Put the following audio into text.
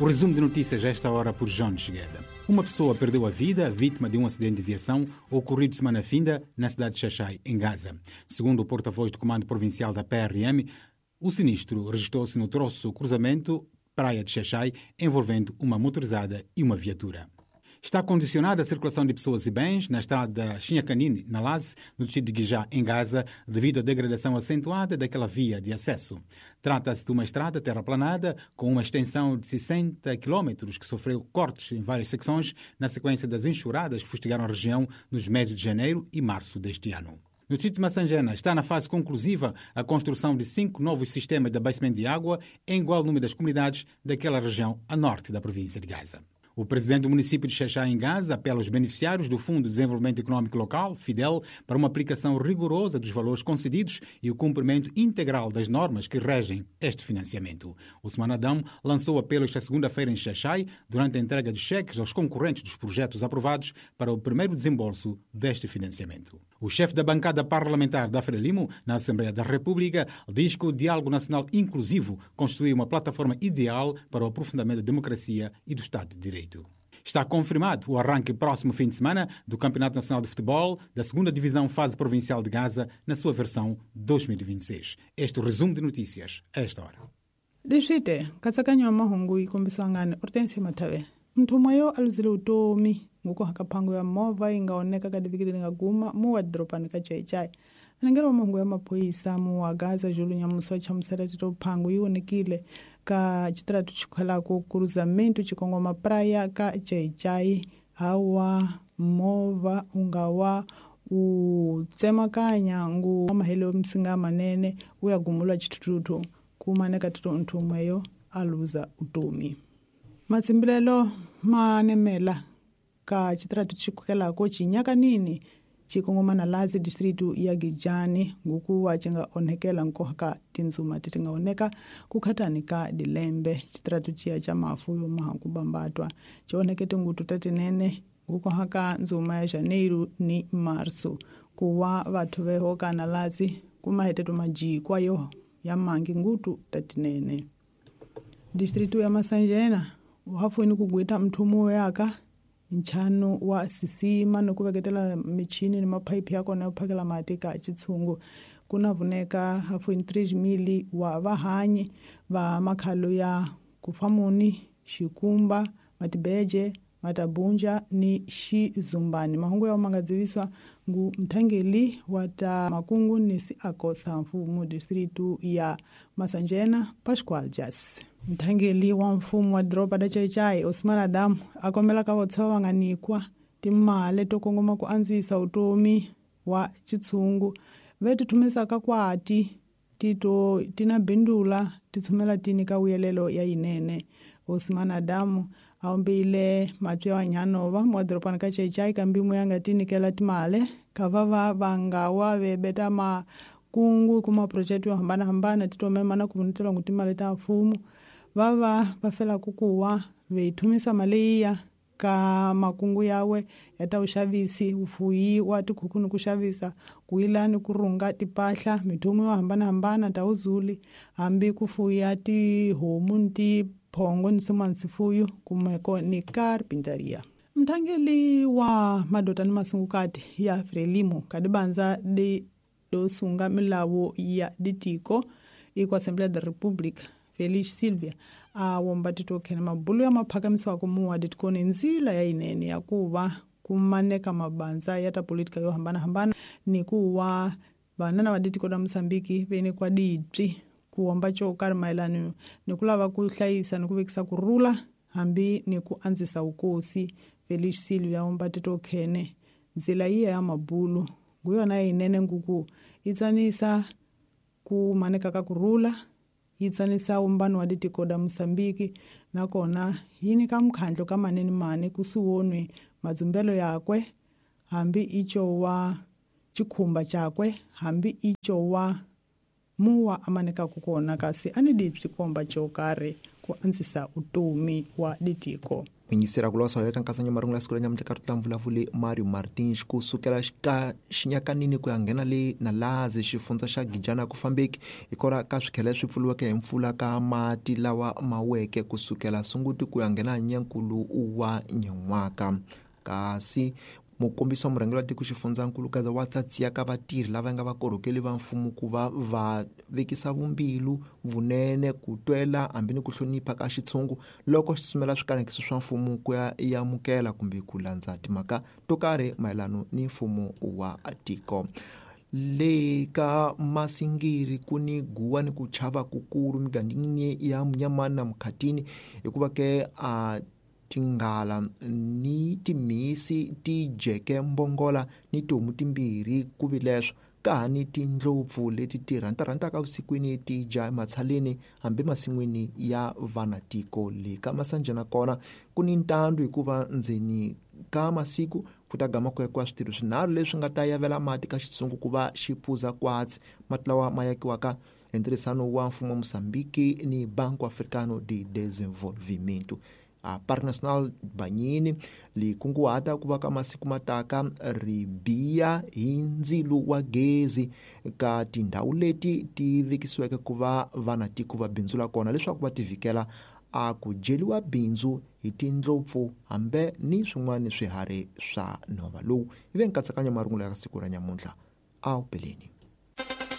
O resumo de notícias a esta hora por João Chigueda. Uma pessoa perdeu a vida vítima de um acidente de viação ocorrido semana finda na cidade de Xaxai, em Gaza. Segundo o porta-voz do Comando Provincial da PRM, o sinistro registrou-se no troço cruzamento Praia de Xaxai, envolvendo uma motorizada e uma viatura. Está condicionada a circulação de pessoas e bens na estrada Xinhacanine, na Laze, no distrito de Guijá, em Gaza, devido à degradação acentuada daquela via de acesso. Trata-se de uma estrada terraplanada com uma extensão de 60 km que sofreu cortes em várias secções na sequência das enxurradas que fustigaram a região nos meses de janeiro e março deste ano. No distrito de Massangena está na fase conclusiva a construção de 5 novos sistemas de abastecimento de água em igual número das comunidades daquela região a norte da província de Gaza. O presidente do município de Xaxai, em Gaza, apela aos beneficiários do Fundo de Desenvolvimento Econômico Local, FIDEL, para uma aplicação rigorosa dos valores concedidos e o cumprimento integral das normas que regem este financiamento. Ousmane Adão lançou o apelo esta segunda-feira em Xaxai, durante a entrega de cheques aos concorrentes dos projetos aprovados para o primeiro desembolso deste financiamento. O chefe da bancada parlamentar da Frelimo, na Assembleia da República, diz que o diálogo nacional inclusivo constitui uma plataforma ideal para o aprofundamento da democracia e do Estado de Direito. Está confirmado o arranque próximo fim de semana do Campeonato Nacional de Futebol da 2ª Divisão Fase Provincial de Gaza, na sua versão 2026. Este é o resumo de notícias a esta hora. Leswite nkatsakanyo wa mahungu yi kombisiwa ngani Hortensia Matave. Mthumwa yo aluzile utomi nguku phango ya movha yi nga oneka ka diviki leri nga guma mu wa doropani ka Xaxai. Anengela wa mahungu ya maphorisa mu wa Gaza Julu Nyamuso chamusela tito phango yi onekile ka xitaratu xikhalako cruzamento xikongoma praia ka Xaxai hawa movha u nga wa u tsemakanya ngu mahelo msinga manene u ya gumula xithuthuthu kumaneka tito nthumwa yo aluza utomi. Matsimbilelo manemela ka xitaratu xikhukelako xinyakanini xikongomana lazi distritu ya Gijani ngukuwa xi nga onhekela nkoka ka tindzuma ti nga oneka ku khatani ka dilembe. Xitaratu xiya xa mafu yo mahanku bambatwa xi onheke tingutu ta tinene ngukoha ka ndzuma ya Janeiro ni Marso kuwa vathu veho kana lazi kumaheteto majikwa yo ya mangi ngutu ta tinene. Distritu ya Masanjena uhafweni kugweta mthumu yaka nchano wa sisima nokuveketela michini ni maphayiphi ya kona yo phakela mati ka xitshungu kuna vuneka hafweni 3 mili wa vahanyi va makhalo ya kufamuni xikumba matibeje matabunja ni xizumbani. Mahungu ya manga dziviswa ngu mthangeli wa ta makungu ni siako mfumo distritu ya Masanjena Pascual Jas. Mthangeli wa mfumo wa doroba da Xaxai Ousmane Adam akombela ka votshwa va nga nikwa timali to kongoma ku andzisa utomi wa xitshungu ve ti thumisaka kwati tito tina bindula ti tshumela tini ka wuyelelo ya yinene. Ousmane Adam aombile matwi wa nyanova mwa doropani ka Xaxai kambimu ya nga tinikela timale ka va va nga wa ve beta makungu kuma project yo hambanahambana titomemana ku vunetela ngu timali ta mfumo va va fela kukuwa ve thumisa mali ya ka makungu yawe ya ta uxavisi ufuyi wa tikhuku ni ku xavisa ku yilani ku rhunga tipahla mithomo yo hambanahambana ta uzuli hambi ku fuya tihomu ni tiphongo ni swin'wana swifuyo kumeko ni carpintaria. Mthangeli wa madota ni masungukati ya Frelimo kadibanza di dosunga milawu ya ditiko iko Assembleia da República Feliz Silvia a womba titokhena mabulu ya maphakamiso kumuwa ditikoni nzila ya inene ya kuva kumaneka mabanza ya ta politika yo hambanahambana ni kuwa vanana va ditiko ta Mosambiki vene kwa dibyi kuwomba xo karhi mayelana ni ku lava ku hlayisa ni ku vekisa ku rhula hambi ni ku andzisa vukosi. Feliz Silvia womba titokhene nzila yiya ya mabulu nguyona yinene nguku yi tsanisa ku maneka ka ku rhula yi tsanisa umbano wa ditiko da Mosambiki nakona yi nyika mukhandlo ka manene mane kusuwonwi madzumbelo yakwe hambi icho wa xikhumba xakwe hambi icho wa muwa amanekaku kona kasi ani dibyi komba xo karhi ku andzisa utomi wa ditiko. Yingisela ku losa eka nkatsanyo marungulo ya siku ra nyamuntlha ka rutla vulavuli Mario Martins ku sukela ka xinyakanini ku ya nghena le Nalazi xifundza xa Gijana ku fambeki hikwalaho ka swikhele swi pfuriweke hi mpfula ka mati lawa ma weke ku sukela Sunguti ku ya nghena Nyankulu wa nyan'waka. Kasi mukombisi wa murhangeri wa tiko xifundzankulu Gaza wa tsatsiya ka vatirhi lava nga vakorhokeli va mfumo ku va va vekisa vumbilu vunene ku twela hambi ni ku hlonipha ka xitshungu loko xi tsutsumela swikanekiso swa mfumo ku ya amukela kumbe ku landza timhaka to karhi mayelano ni mfumo wa tiko. Le ka Masingiri ku ni guwa ni ku chava kukulu migangeni ya Munyamani na Mukhatini hikuva ke a tinghala ni timhisi ti dyeke mbongola ni tihomu timbirhi ku vi leswo ka ha ni tindlopfu leti ti rhantarhantaka vusikwini ti dya ematshaleni hambi masin'wini ya vanatiko. Le ka Masanjana kona ku ni ntandu hikuva ndzeni ka masiku ku ta gama ku yakiwa switirho swinharhu leswi nga ta yavela mati ka xitsungu ku va xi phuza kwatsi. Mati lawa ma yakiwaka hi ntirhisano wa mfumo wa Mozambiki ni Banco Africano de Desenvolvimento. A Parque Nacional Banyini li kunguhata ku va ka masiku mataka ri biya hi ndzilu wa gezi ka tindhawu leti ti vekisiweke ku va vanatiko va bindzula kona leswaku va tivikela a ku dyeliwa bindzu hi tindlopfu hambe ni swin'wana swiharhi swa nhova. Lowu yi ve nkatsakanyo marungulo ya siku ra nyamuntlha. A wu peleni.